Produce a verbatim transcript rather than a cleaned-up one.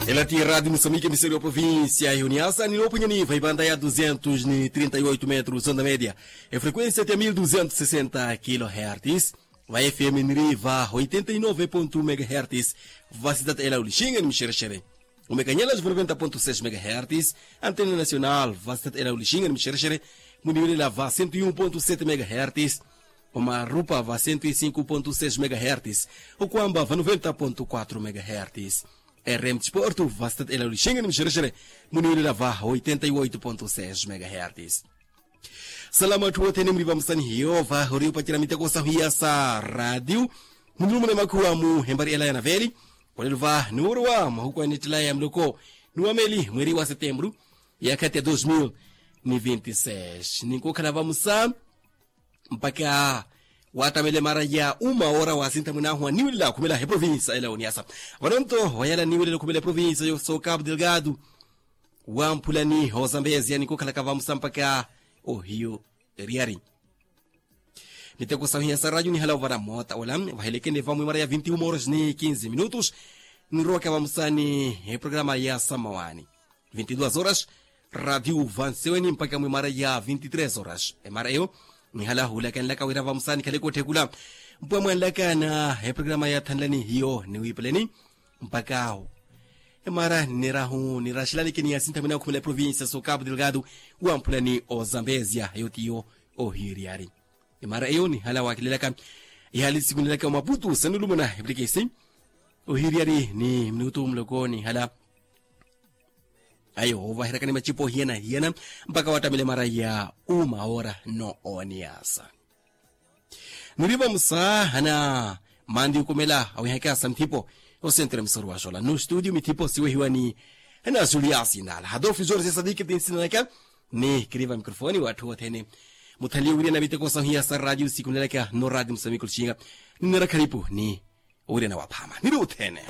Ela ti radio musambike miseri wa provincia ya uniasa ni loponyani va ivanda ya duzentos ni trinta y oito metros onda media, efrequencia ti ya mil duzentos sesenta kilohertz. Va fm niri va oitenta y nove ponto un megahertz. Va sitata ela ulixinga ni mixerexere. Umekanyela va noventa ponto seis megahertz. Antena nacional va sitata ela ulixinga ni mixerexere. Muniwelela va cento y um ponto sete megahertz. Omarupa va cento y cinco ponto seis megahertz. Okwamba va noventa ponto quatro megahertz. Rm sporto va sitata ela ulixinga ni mixerexere. Muniwelela va oitenta y oito ponto seis megahertz. Salama atthu othene muli vamusani hiyo va ori opacela miteko sahu iya sa radio. Munilumuna makhuwa mu hempari ela ya naveli. Olelo va nuurowa mahuku a nettela ya muloko nuwa meli mweri wa setembru ya khati ya dos mil ni vinti seis ninkukhala vamusa mpakha watamele mara ya uma ora wasinta mwinahu aniwelela khumela eprovinsa ela oniasa. Vanonto wayala aniwelela khumela eprovinsa yo so cabo delgado wamphulani hozambezia nikukhalaka vamusa mpakha ohiyo eriyari. Miteko sahu iya sa radio nihala ovara mota ola vahelekene vamwe mara ya vinti uma horas ni kinzi minutos. Nirowaka vamusani eprograma ya samawani vinti duas horas. Radio vanseweni mpakha mwe mara ya vinti tres horas emara eyo. Nihala hulakanilaka wira vamusani khale kotthekula mpwa mwanlakana eprograma ya thanlani hiyo niwipeleni mpakha awo emara nirahu niraxelanike ni yasintamina okhumela eprovinsia so cabo delgado wamphula ni ozambezia eyo tiyo ohiriyari. Emara eyo nihala wakilelaka ihali sikunelaka omaputu sanulumuna eplikesi ohiriyari ni minutu muloko nihala ayo ovahirakani macipo hiyana hiyana mpakha watamela emara ya uma ora no oniyasa. Niriva musaahana manti okomela awihaka sa mithipo osentre musoro wa xola no studio mithipo siwehiwa ni hana juliasi nala hadofi jorge sadiki tinsinanaka. Ni kiriva mikrofoni watthu othene muthaliye wiriana miteko sahu iya sa radio sikunelaka no radio musamiku lixinga. Ninera khalipu ni owiriana waphama niri othene.